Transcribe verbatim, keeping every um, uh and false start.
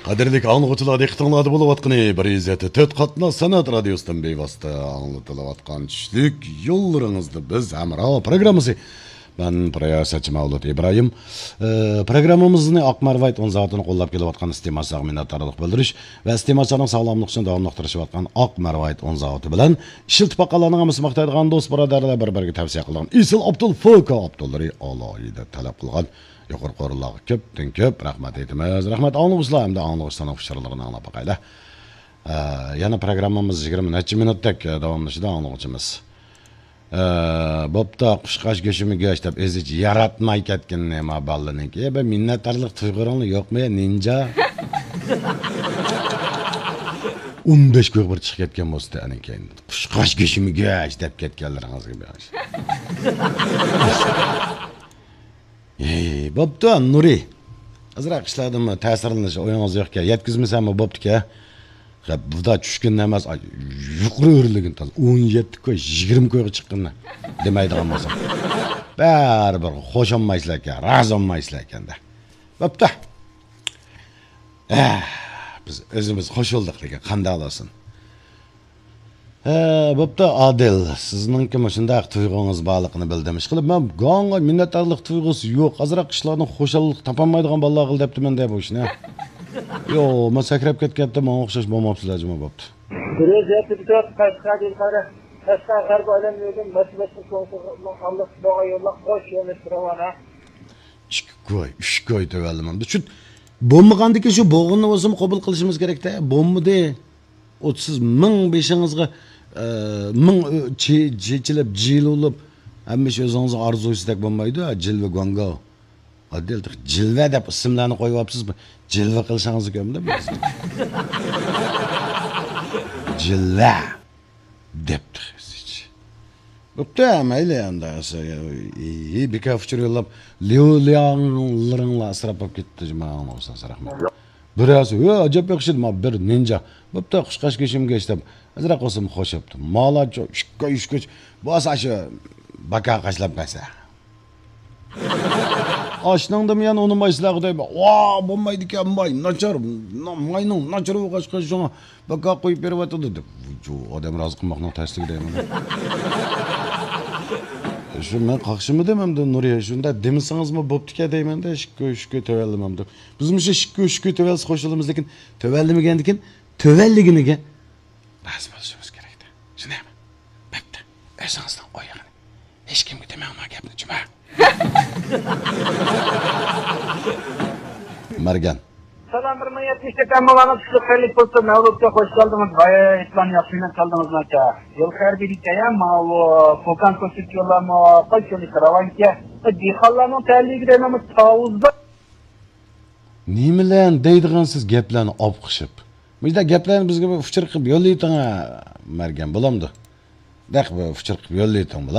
قەدىرلىك ئاڭلىغۇچىلار، دىققىتىڭلاردا بولۇۋاتقىنى بىر يۈز يەتتە تۆت قاتناش سەنئەت رادىيوسىدىن بىۋاسىتە ئاڭلىتىلىۋاتقان چۈشلۈك يوللىرىڭىزدا بىز ھەمراھ پروگراممىسى. مەن پروگراممىسى مەۋلۇت ئىبراھىم. ئى، پروگراممىمىزنى ئاق مەرۋايىت ئۇن زاۋۇتىنى قوللاپ كېلىۋاتقان ئىستېمالچىلارغا مىننەتدارلىق بىلدۈرۈش ۋە ئىستېمالچىلارنىڭ ساغلاملىقى ئۈچۈن داۋاملىق تىرىشىۋاتقان ئاق مەرۋايىت ئۇن زاۋۇتى بىلەن ئىشلىتىپ باققانلارنىڭ ھەممىسى ماختايدىغان، دوست بۇرادەرلەر بىر-بىرىگە تەۋسىيە قىلغان ئېسىل ئابدۇل فوكا ئابدۇللىرى ئالاھىدە تەلەپ قىلغان يۇقىرى قورۇللارغا كۆپتىن كۆپ رەھمەت ئېيتىمىز. رەھمەت ئاڭلىغۇچىلار ھەمدە ئاڭلىغۇچىلارنىڭ ئۇچۇرلىرىنى ئاڭلاپ باقايلى. ئە، يەنە پروگراممىمىز يىگىرمە نەچچە مىنۇتتەك، ئە، داۋاملىشىدۇ ئاڭلىغۇچىمىز. ئە، بوپتۇ، قۇشقاچ گۆشىمۇ گۆش دەپ ئۆزىچە ياراتماي كەتكىنىنى ما بالىنىڭكى. بىر مىننەتدارلىق تۇيغۇلىرىڭ يوقمۇ يا، نىنجا؟ ئون بەش كويغا بىر چىقىپ كەتكەن بولسا ئەنە كەينى. قۇشقاچ گۆشىمۇ گۆش دەپ كەتكەنلىرىڭىزگە بېغىش. ھېي، بوپتۇ، نۇرى. ئازراق ئىشلاردىنمۇ تەسىرلىنىش ئويىڭىز يوقكەن، يەتكۈزمىسەممۇ بوپتىكەن. غەپ، بۇدا چۈشكىنى ئەمەس، ئاي، يۇقىرى ئۆرلىگىن تازا. ئون يەتتە كوي، يىگىرمە كويغا چىققىنىنى دېمەيدىغان بولسام. بەرىبىر خۇش بولمايسىلەركەن، رازى بولمايسىلەركەن-دە. بوپتۇ. ئە، بىز ئۆزىمىز خۇش بولدۇق لېكىن قانداق بولسۇن. ھە، بوپتۇ، ئادىل. سىزنىڭكى مۇشۇنداق تۇيغۇڭىز بارلىقىنى بىلدىم. ئىشقىلىپ، مەن گاڭغا مىننەتدارلىق تۇيغۇسى يوق. ئازراق ئىشلاردىن خۇشاللىق تاپالمايدىغان بالىلار قىل دەپتىمەن دە بۇ ئىشنى. يو، مەن سەكرەپ كەتكەنتىم، ماڭا ئوخشاش بولماپسىلەر، جۇمۇ بوپتۇ. بىر ئۆزى يېتىپ تۇرۇپ، قەشقەر دېگەن قەشقەر غەربىي ئايلانما يولىدىن مەسچىت باشقا كوڭسىغا ئاللىق بولغان يوللار قوش يولنى رەۋانە. ئىككى كوي، ئۈچ كوي تۆۋەنلىمەمدۇ. شۇ بولمىغاندىكىن شۇ بولغىنىنى بولسىمۇ قوبۇل قىلىشىمىز كېرەكتە. بولمىدى. ئوتسىز مىڭ بېشىڭىزغا، ئە، مىڭ ئۆ-، چې-، چېچىلىپ، جىلۋىلىپ، ھەممە ئىش ئۆزىڭىزنىڭ ئارزۇسىدەك بولمايدۇ، ھە، جىلۋە گۇاڭگاۋ. ئاددىي جىلۋە دەپ ئىسىملارنى قويۇۋاپسىز، جىلۋە قىلىشىڭىزنى كۆردۈم. جىلۋە دەپ تېخى. بوپتۇ، مەيلى، ئەمدى، ئى، بىكار ئۇچۇر يوللاپ، ليۇ لياڭلىرىڭلار ئىسراپ بولۇپ كېتىپتۇ، جۇما، ئاڭلاۋاتسىڭىز، رەھمەت. بىرەرسى، ھۆ، ئەجەب ياخشى، ما بىر نىنجا. بوپتۇ، قۇشقاچ گۆشىمۇ گۆش دەپ، ئازراق بولسىمۇ خۇش بوپتۇ. مالا چو-، ئۈچ كوي، ئۈچ كوي. بولسا شۇ باكا قاچىلاپ بەرسە. ئاشنىڭدىمۇ يەنە ئۇنىمايسىلەر، خۇداي. ۋا، بولمايدىكەن، باي، ناچار، نا-، ماينىڭ ناچار بولغاچقا شۇڭا باكا قويۇپ بېرىۋاتىدۇ دەپ. جۇ، ئادەم رازى قىلماقنىڭ تەسلىكى دەيمەن. شۇ مەن قاقشىمىدىم ئەمدى نۇرى. شۇنداق دېمىسىڭىزمۇ بوپتىكەن دەيمەن-دە، ئىككى كوي، ئۈچ كوي تۆۋەنلىمەمدۇ. بىز مۇشۇ ئىككى كوي، ئۈچ كوي تۆۋەنلىسە خۇش بولىمىز، لېكىن تۆۋەنلىمىگەندىكىن تۆۋەنلىگىنىگە رازى بولۇشىمىز كېرەكتە. شۇنداقمۇ؟ بەپتە، ئۆزىڭىزنىڭ ئويىغىنى. ھېچكىمگە دېمەڭ ما گەپنى، جۇما. مەرگەن. سالام، بىر مىڭ يەتمىش تۆت ئەمما بارغان، كۈچلۈك خەيرلىك بولسۇن. مەۋلۇت ئاكا، خوش كەلدىڭىز. ھاي، ئېيتلان ياخشى، مەن كەلدىڭىز ناچار. يول خەير بېرىكە، يا، ماۋۇ پوكان كۆرسىتىش يوللارمۇ قايسى يولنى راۋانكە؟ دېھقانلارنىڭ تەلىيىگە دەيمەنمۇ تاۋۇزدا. نېمىلەن دەيدىغانسىز گەپلەرنى ئاپقىشىپ؟ مۇشۇنداق گەپلەرنى بىزگە بىر ئۇچۇر قىلىپ يوللىۋېتىڭە، مەرگەن، بولامدۇ؟ دەق بىر ئۇچۇر قىلىپ يوللىۋېتىڭ، بولامدۇ؟